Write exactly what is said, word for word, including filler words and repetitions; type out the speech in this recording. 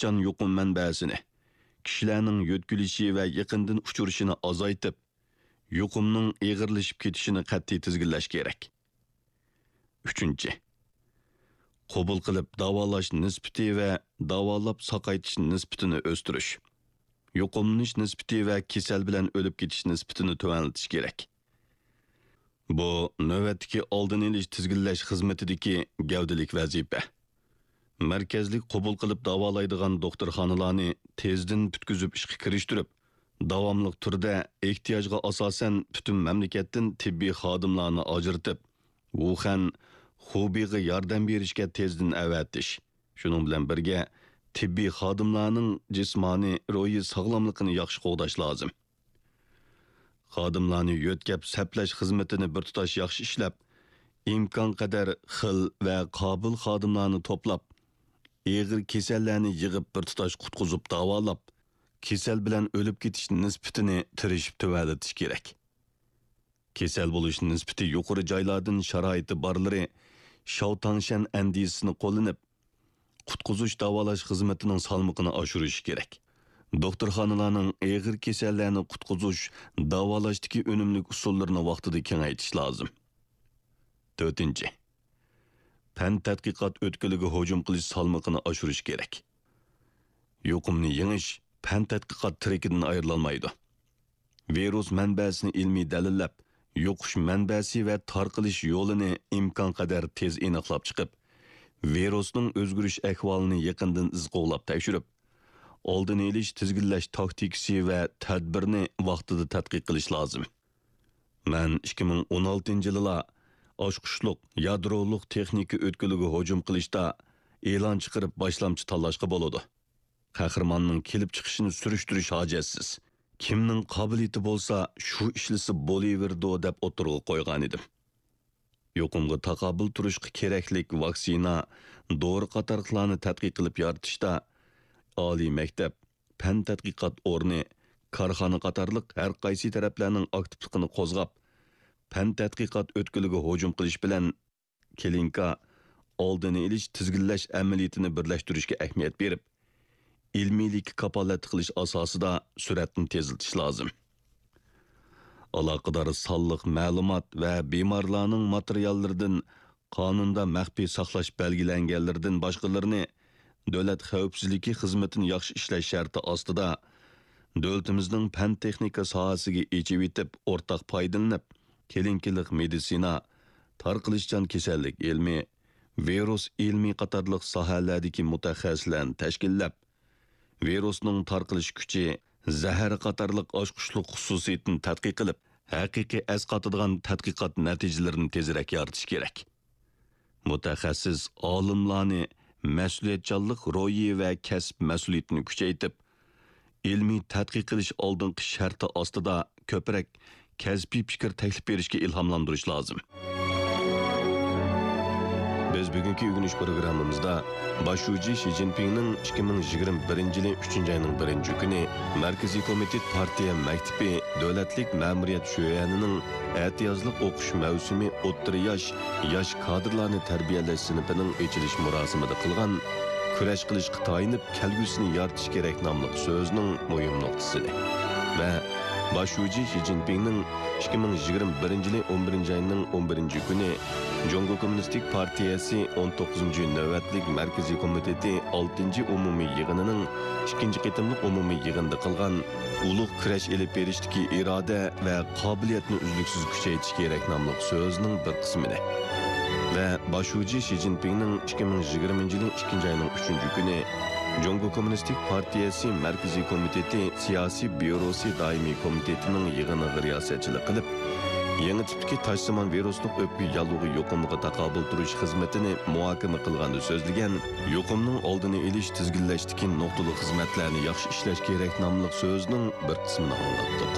تارقىتىشچان يۇقۇم مەنبەسىنى، كىشىلەرنىڭ يۆتكىلىشى ۋە يېقىندىن ئۇچرىشىنى ئازايتىپ، يۇقۇمنىڭ ئېغىرلىشىپ كېتىشىنى قەتئىي تىزگىنلەش كېرەك. ئۈچىنچى، قوبۇل قىلىپ داۋالاش نىسبىتى ۋە داۋالاپ ساقايتىش نىسبىتىنى ئۆستۈرۈش، يۇقۇملىنىش نىسبىتى ۋە كېسەل بىلەن ئۆلۈپ كېتىش نىسبىتىنى تۆۋەنلىتىش كېرەك. بۇ نۆۋەتتىكى ئالدىنى ئېلىش تىزگىنلەش خىزمىتىدىكى گەۋدىلىك ۋەزىپە. مەركەزلىك قوبۇل قىلىپ داۋالايدىغان دوختۇرخانىلارنى تېزدىن پۈتكۈزۈپ ئىشقا كىرىشتۈرۈپ، داۋاملىق تۈردە ئېھتىياجغا ئاساسەن پۈتۈن مەملىكەتتىن تېببىي خادىملارنى ئاجرىتىپ، ۋۇخەن، خۇبېيغا ياردەم بېرىشكە تېزدىن ئەۋەتىش، شۇنىڭ بىلەن بىرگە، تېببىي خادىملارنىڭ جىسمانىي، روھىي ساغلاملىقىنى ياخشى قوغداش لازىم. خادىملارنى يۆتكەپ سەپلەش خىزمىتىنى بىر تۇتاش ياخشى ئىشلەپ، ئىمكانقەدەر خىل ۋە قابىل خادىملارنى توپلاپ، ئېغىر كېسەللەرنى يىغىپ بىر تۇتاش قۇتقۇزۇپ داۋالاپ، كېسەل بىلەن ئۆلۈپ كېتىش نىسبىتىنى تىرىشىپ تۆۋەنلىتىش كېرەك. كېسەل بولۇش نىسبىتى يۇقىرى جايلاردىن شارائىتى بارلىرى شاۋتاڭشەن ئەندىزىسىنى قوللىنىپ، قۇتقۇزۇش داۋالاش خىزمىتىنىڭ سالمىقىنى ئاشۇرۇشى كېرەك. دوختۇرخانىلارنىڭ ئېغىر كېسەللەرنى قۇتقۇزۇش، داۋالاشتىكى ئۈنۈملۈك ئۇسۇللىرىنى ۋاقتىدا كېڭەيتىش لازىم. تۆتىنچى، پەن تەتقىقات ئۆتكىلىگە ھۇجۇم قىلىش سالمىقىنى ئاشۇرۇش كېرەك. يۇقۇمنى يېڭىش پەن تەتقىقات تىرىكىدىن ئايرىلالمايدۇ. ۋىرۇس مەنبەسىنى ئىلمىي دەلىللەپ، يۇقۇش مەنبەسى ۋە تارقىلىش يولىنى ئىمكانقەدەر تېز ئېنىقلاپ چىقىپ، ۋىرۇسنىڭ ئۆزگىرىش ئەھۋالىنى يېقىندىن ئىز قوغلاپ تەكشۈرۈپ، ئالدىنى ئېلىش، تىزگىنلەش تاكتىكىسى ۋە تەدبىرىنى ۋاقتىدا تەتقىق قىلىش لازىم. مەن ئىككى مىڭ ئون ئالتىنچى يىلىلا ئاچقۇچلۇق يادرولۇق تېخنىكا ئۆتكىلىگە ھۇجۇم قىلىشتا ئېلان چىقىرىپ باشلامچى تاللاشقا بولىدۇ. قەھرىماننىڭ كېلىپ چىقىشىنى سۈرۈشتۈرۈش ھاجەتسىز. كىمنىڭ قابىلىيىتى بولسا، شۇ ئىشلىسە بولۇۋېرىدۇ، دەپ ئوتتۇرىغا قويغانىدىم. يۇقۇمغا تاقابىل تۇرۇشقا كېرەكلىك ۋاكسىنا، دورا قاتارلىقلارنى تەتقىق قىلىپ يارىتىشتا ئالىي مەكتەپ، پەن تەتقىقات ئورنى، كارخانا قاتارلىق ھەر قايسى تەرەپلەرنىڭ ئاكتىپلىقىنى قوزغاپ، پەن تەتقىقات ئۆتكىلىگە ھۇجۇم قىلىش بىلەن كلىنىكا ئالدىنى ئېلىش، تىزگىنلەش ئەمەلىيىتىنى بىرلەشتۈرۈشكە ئەھمىيەت بېرىپ، ئىلمىيلىككە كاپالەتلىك قىلىش ئاساسىدا سۈرئەتنى تېزلىتىش لازىم. ئالاقىدار سانلىق مەلۇمات ۋە بىمارلارنىڭ ماتېرىياللىرىدىن قانۇندا مەخپىي ساقلاش بەلگىلەنگەنلىرىدىن باشقىلىرىنى دۆلەت خەۋپسىزلىكى خىزمىتىنى ياخشى ئىشلەش شەرتى ئاستىدا، دۆلىتىمىزنىڭ پەن-تېخنىكا ساھەسىگە ئېچىۋېتىپ، ئورتاق پايدىلىنىپ، كلىنىكىلىق مېدىتسىنا، تارقىلىشچان كېسەللىك ئىلمى، ۋىرۇس ئىلمى قاتارلىق ساھەلەردىكى مۇتەخەسسىسلەرنى تەشكىللەپ، ۋىرۇسنىڭ تارقىلىش كۈچى، زەھەر قاتارلىق ئاچقۇچلۇق خۇسۇسىيىتىنى تەتقىق قىلىپ، ھەقىقىي ئەسقاتىدىغان تەتقىقات نەتىجىلىرىنى تېزرەك يارىتىش كېرەك. مۇتەخەسسىس ئالىملارنى مەسئۇلىيەتچانلىق روھى ۋە كەسىپ مەسئۇلىيىتىنى كۈچەيتىپ، ئىلمىي تەتقىق قىلىش ئالدىنقى شەرتى ئاستىدا كۆپرەك كەسپىي پىكىر تەكلىپ بېرىشكە ئىلھاملاندۇرۇش لازىم. بىز بۈگۈنكى ئۆگىنىش پروگراممىمىزدا باش شۇجى شى جىنپىڭنىڭ ئىككى مىڭ يىگىرمە بىرىنچى يىلى ئۈچىنچى ئاينىڭ بىرىنچى كۈنى مەركىزىي كومىتېت پارتىيە مەكتىپى دۆلەتلىك مەمۇرىيەت شۆئەنىنىڭ ئەتىيازلىق ئوقۇش مەۋسۇمى ئوتتۇرا ياش، ياش كادىرلارنى تەربىيەلەش سىنىپىنىڭ ئېچىلىش مۇراسىمىدا قىلغان كۈرەش قىلىشقا تايىنىپ، كەلگۈسىنى يارىتىش كېرەك ناملىق سۆزىنىڭ مۇھىم نۇقتىسىنى ۋە باش شۇجى شى جىنپىڭنىڭ ئىككى مىڭ يىگىرمە بىرىنچى يىلى ئون بىرىنچى ئاينىڭ ئون بىرىنچى كۈنى جۇڭگو كوممۇنىستىك پارتىيەسى ئون توققۇزىنچى نۆۋەتلىك مەركىزىي كومىتېتى ئالتىنچى ئومۇمىي يىغىنىنىڭ ئىككىنچى قېتىملىق ئومۇمىي يىغىنىدا قىلغان ئۇلۇغ كۈرەش ئېلىپ بېرىشتىكى ئىرادە ۋە قابىلىيەتنى ئۈزلۈكسىز كۈچەيتىش كېرەك ناملىق سۆزىنىڭ بىر قىسمىنى ۋە باش شۇجى شى جىنپىڭنىڭ ئىككى مىڭ يىگىرمىنچى يىلى ئىككىنچى ئاينىڭ ئۈچىنچى كۈنى جۇڭگو كوممۇنىستىك پارتىيەسى مەركىزىي كومىتېتى سىياسىي بيۇروسى دائىمىي كومىتېتىنىڭ يىغىنىغا رىياسەتچىلىك قىلىپ، يېڭى تىپتىكى تاشسىمان ۋىرۇسلۇق ئۆپكە ياللۇغى يۇقۇمىغا تاقابىل تۇرۇش خىزمىتىنى مۇھاكىمە قىلغاندا سۆزلىگەن، يۇقۇمنىڭ ئالدىنى ئېلىش، تىزگىنلەشتىكى نۇقتىلىق خىزمەتلەرنى ياخشى ئىشلەش كېرەك ناملىق سۆزىنىڭ بىر قىسمىنى ئاڭلاتتۇق.